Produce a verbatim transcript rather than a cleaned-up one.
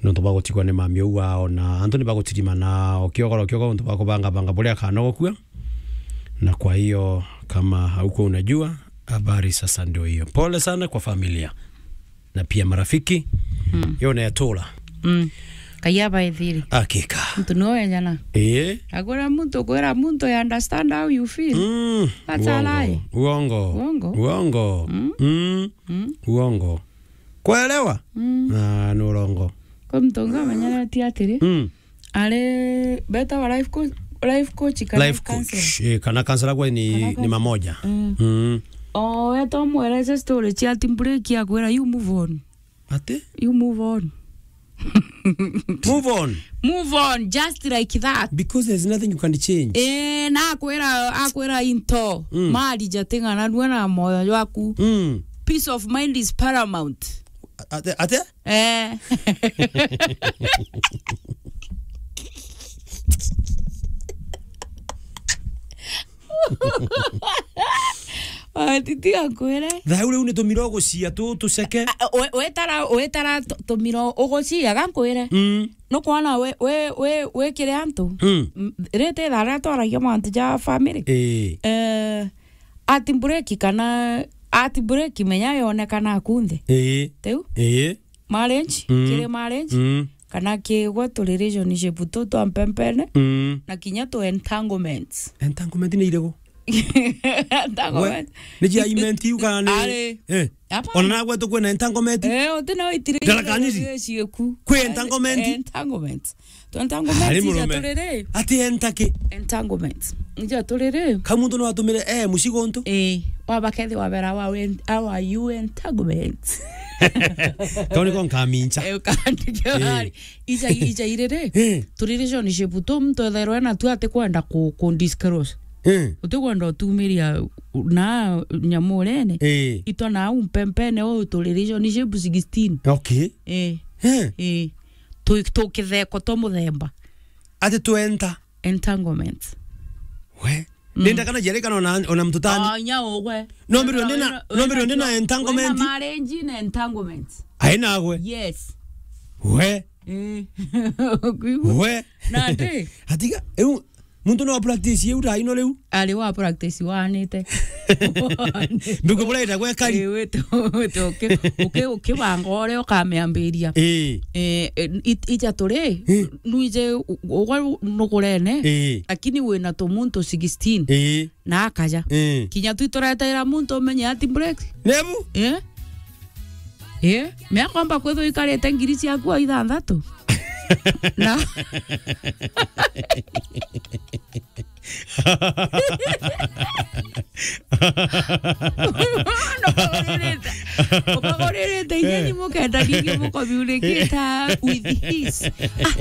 nontu bwa gutigwa ni mami uu wao, na antu ni bagutirimana o kiogoro kiogoro nontu bwa kubangabanga buria akanogokua. Na kwa hiyo, kama haukuwa unajua, habari sasa ndio hiyo. Pole sana kwa familia na pia marafiki. Mm. Yo ne atura. Mm. Kayaba ethiri. Hakika. Mtu no ejana. Eh? Akwira muntu, kwira muntu, I understand how you feel. Mm. That's a lie. Uongo. Uongo. Uongo. Mm. Mm. Mm. Uongo. Kuelewa? Mm. Ah, ni urongo. Kwa mtu unga manyara ti atiri. Mm. Ari beta wa life coach, life coach kana life coach, counselor. Eh, kana counselor kwa ni, kana ni counselor. Mamoja. Mm. Mm. O weto mwereze story cia team break ya kwira, you move on. Ati? You move on. Move on. Move on, just like that. Because there's nothing you can change. Eh, na akwira, akwira into. Mm. Mari jating'ana nua na moyo jwaku. Mm. Peace of mind is paramount. Ate, ate? Eh. Atiti akwire. Thau riu ni tumiro gucia tu tuceke. A, a, we-, wetara, wetara tu-, tumiro ugucia, ga nkwire. Mm. Nukwona we, we, we, we kiri antu. Mm. M-, rite thaa riria twaragia mantu ja family. Ii. Eh, ati break kana ati break menya yonekana kunthe. Ii. Teu? Ii. Marriage, mm, kiri marriage, mm, kana kigwe tu relationship tu twa mpempene, mm, na kinya tu entanglements. Entanglement ni iriku? Entanglement. We, ni jia imenti iu kana ni? Ari. Eh. Hapana. Ona nagwe tu kwina entanglement? Eh, uti na itire. Ndarakaniri? Ciku. Kwi entanglement? Entanglement. Tu entanglement. Ari ija murume. Turiri. Ati entaki? Entanglement. Ija turiri. Ka muntu no atumire, eh, mucigo ntu? Eh, waba kethi wabera wa wen-, awa you entanglement. Kau niko nkamincha. Eh, ukandike. Eh. Wari. Ija, ija iriri. Eh. Tu relationship tu muntu ethairwe na tu ati kwenda ku, ku disclose. Eh. Uti kwenda utumiria na nyamu urene. Eh. Itwa na au mpempene o tu relationship sixteen. Okay. Eh. Eh. Eh. Tu, tu kitheko to muthemba. Ati twenta. Entanglement. We. Mm. Nenda kana jere kana ona, ona mtu tani. Ah, nya ugwe. No mbiro ndina, no mbiro ndina entanglement. Wena marriage na entanglement. Aina gwe. Yes. We. Eh. Kuigua? We. Na ndi. Atiga, eu, muntu no practice eu raino riu. Ari wa practice wanite. Ndugu bura ita gwe kari. Eh, wete, wete, uki-, uki-, ukibanga uria ukamiambiria. Eh. Eh, eh, it-, ija turi, eh, nuije u-, ugwe nugurene, eh, lakini wina tu muntu sixteen. Eh. Na akaja. Eh. Kinya tu itureteera muntu umenye ati break. Nebu? Eh? Eh? Me akomba kwithwa ikarite ngiri ciaku o ithanthatu. Na. Ukaguririte. Ukaguririte inya, eh, ni mukenda ringi mukomiurikita with his. Ah,